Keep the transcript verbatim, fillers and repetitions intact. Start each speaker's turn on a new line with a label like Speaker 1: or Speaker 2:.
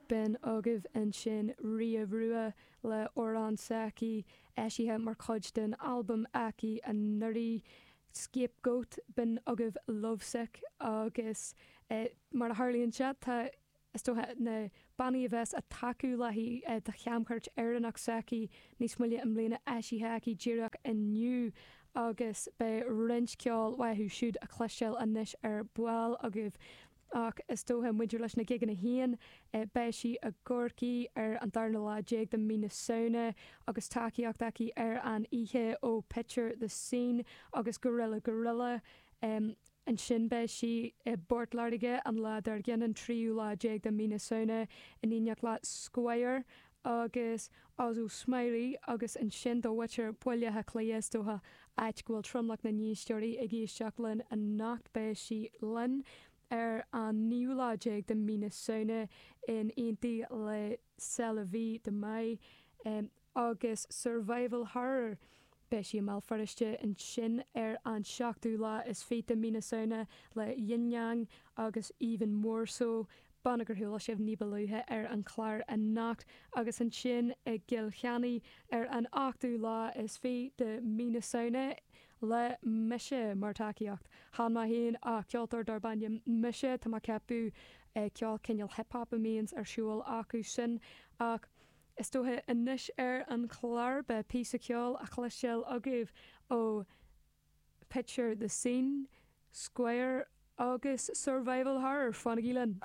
Speaker 1: B'in agaibh ansin Ria Rua le amhrán s'aici eisithe mar chuid den albam aici anuraidh Scapegoat b'in agaibh Lovesick agus eh, mar a tharlaíonn sé tá is dócha na bannaí a bheas ag tacú léi eh, do chamchuairt Éireannach s'aici níos moille i mbliana eisithe aici díreach inniu agus beidh roinnt ceoil uathu siúd a chloisteáil anois ar ball agaibh. Ach is dócha maidir leis na gigeanna féin eh, beidh sí i gCorcaigh ar an darna lá déag de mí na Samhna agus tacaíocht aici ar an oíche ó Picture the Scene agus Gorilla Gorilla. Um, Ansin beidh sí i bPort Láirge an lá dár gcionn an tríú lá déag de mí na Samhna in éineacht le Squire agus Ozo Smiley agus ansin do mhuintir Bhaile Átha Cliath is dócha áit go bhfuil tromlach na n-éisteoirí ag éisteacht linn anocht beidh sí linn ar an naoú lá déag de mí na Samhna in éineacht le C'est La Vie de Mai um, agus Survival Horror. Beidh sí i mBéal Feirste ansin ar an seachtú lá is fiche de mí na Samhna le Yin Yang agus Even More So banna gur chuala sibh ní ba luaithe ar an chlár anocht agus ansin i gCill Chainnigh ar an ochtú lá is fiche de mí na Samhna le mise mar tacaíocht. Chan mé féin ach ceoltóir darb ainm mise tá mé ag ceapadh ceol cineál hip-hop a mbíonns ar siúl acu sin ach is dócha anois ar an chlár beidh píosa ceoil a chloisteáil agaibh ó Picture the Scene, Squire agus Survival Horror fanaigí linn.